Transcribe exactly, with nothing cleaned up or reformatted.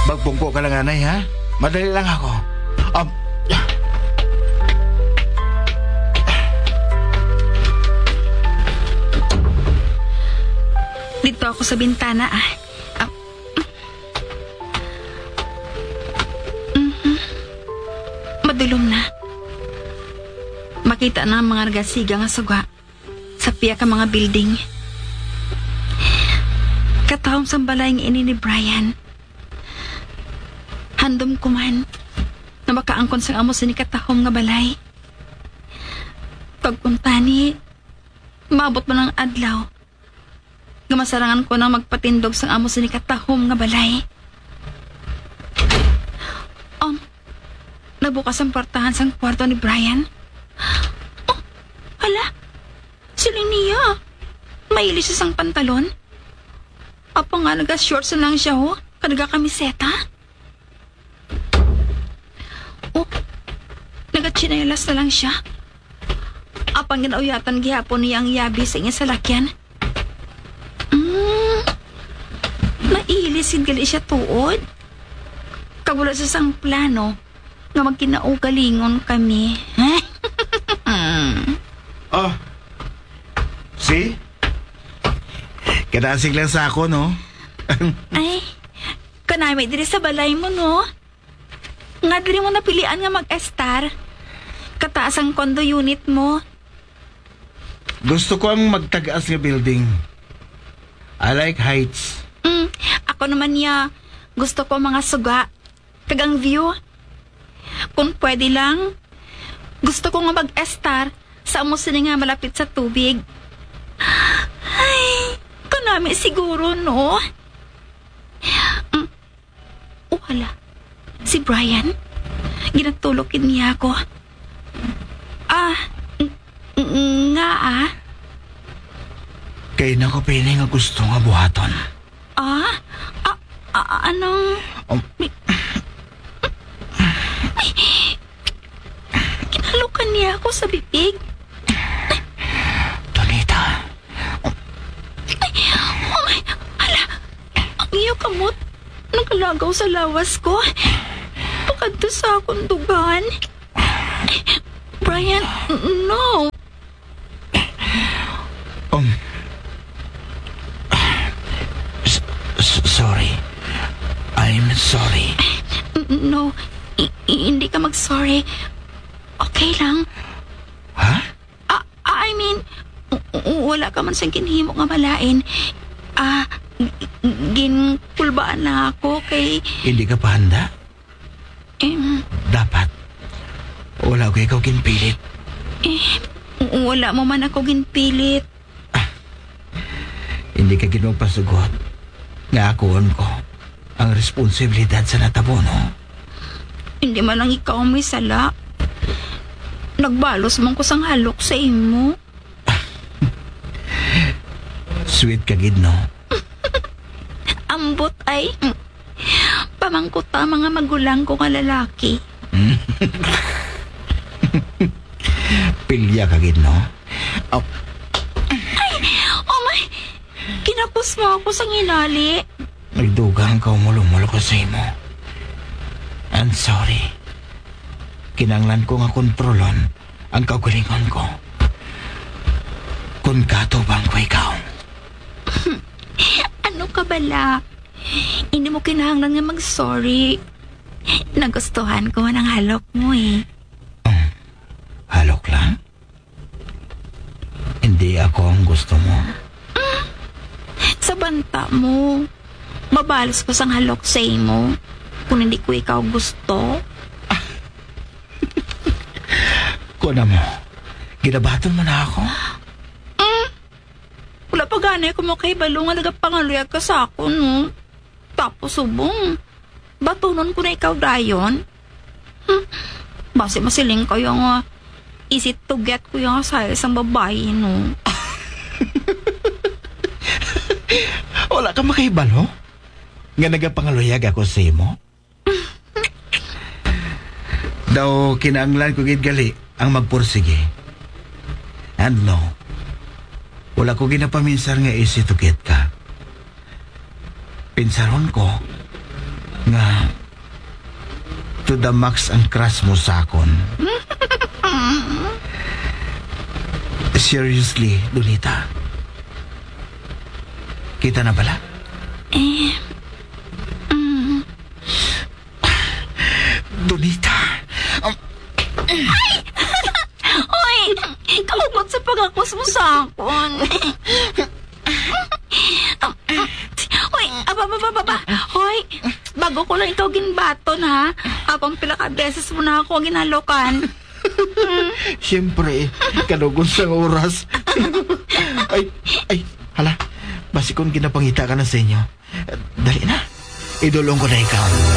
Magpungko ka lang, anay, ha? Madali lang ako. Um, Dito ako sa bintana, ah. Ah. Mhm. Madulom na. Makita na ang mga nagasiga nga suga sa pia ka mga building. Katahom sang balay nga ini ni Brian. Handom ko man na makaangkon sang amo sini katahom nga balay. Kag kuntani, maabot man ang adlaw nga masarangan ko nang magpatindog sang amo sini katahom nga balay. Um, nagbukas ang portahan sang kwarto ni Brian. Oh, hala, siling niya, maili siya sang pantalon. Apa nga, naga-shorts na lang siya, oh, kag nagakamiseta. Oh, nagatsinelas na lang siya. Apang ginauyatan gihapon niya ang yabi sa iya salakyan. Mm, mailis gid gali siya tuod. Kag wala siya sang plano nga magkinaugalingon kami. Ah, see? Kadasig lang sa ako, no? Ay, kanami diri sa balay mo, no? Nga diri mo napilian nga mag-estar? Kataas ang condo unit mo. Gusto ko ang magtag-as nga building. I like heights. Mm, ako naman niya, gusto ko mga suga. Kag ang view. Kung pwede lang, gusto ko nga mag-estar sa amo sini nga malapit sa tubig. Ay, kanami siguro, no? Mm. Oh, hala. Si Brian? Ginatulok gid niya ako. Ah, ng-, ng-, nga ah. Kay nako pili nga gusto nga buhaton. Ah? Ah, ah, anong... Um, Ay, kinalokan niya ako sa bibig. Donita, Ay, oh my, hala, ang iyo kamot nakalagaw sa lawas ko. Pakadto sa akong dugan. Brian, no. Um, s- s- sorry. I'm sorry. No, i- i- hindi ka mag-sorry. Okay lang. Ha? Ah, I mean, w- w- wala ka man sang ginhimo nga malain. Ah, g- g- ginkulbaan lang ako kay... Hindi ka pa handa? Em, Dapat. Wala ko ikaw ginpilit. eh, w- wala mo man ako ginpilit. Hindi ka gid magpasugot nga akuon ko ang responsibilidad sa natabo, no? Hindi man lang ikaw ang may sala. Nagbalos man ko sang halok sa imo. Sweet ka gid, no? Ambot ay. Pamangkuta mga magulang ko nga lalaki. Pilya ka gid, no? Oh, Oh my! Kinapos mo ako sa nginali. Nagdugang ka, umulumol ko sa imo. I'm sorry. Kinanglan ko nga kontrolon ang kaugalingon ko. Kung katubang ko ikaw. Ano ka bala? Hindi mo kinahanglan nga mag-sorry. Nagustuhan ko ang halok mo eh. Halok lang? Hindi ako ang gusto mo. Sa banta mo, mabalos ko sang halok sa imo kung hindi ko ikaw gusto. Kuha mo. Ginabaton mo na ako? Wala pa gani ako makahibalo nga nagapangaluyag ka sa akon, no? Tapos subong, batunon ko na ikaw dayon? Hmm, basi masiling kayo nga easy to get ko yung asaya sang babayi, no? Wala ka makahibalo nga nagapangaluyag ako sa imo? Daw kinahanglan ko gid gali ang magpursige. And no, wala ko ginapaminsar nga easy to get ka. Pinsaron ko, nga to the max ang crush mo sa akon. Seriously, Donita. Kita na bala? Eh, mm, Donita. Um, Hoy! Kaugot sa pagakos mo sa akon. Hoy, aba, aba, aba, aba. Hoy, bago ko lang ikaw ginbaton, ha? Apang pila ka beses mo na ako ginhalokan. Siyempre, kanugon sang oras. Ay, ay, hala. Basi kung ginapangita ka na sa inyo. Dali na. Idulong ko na ikaw.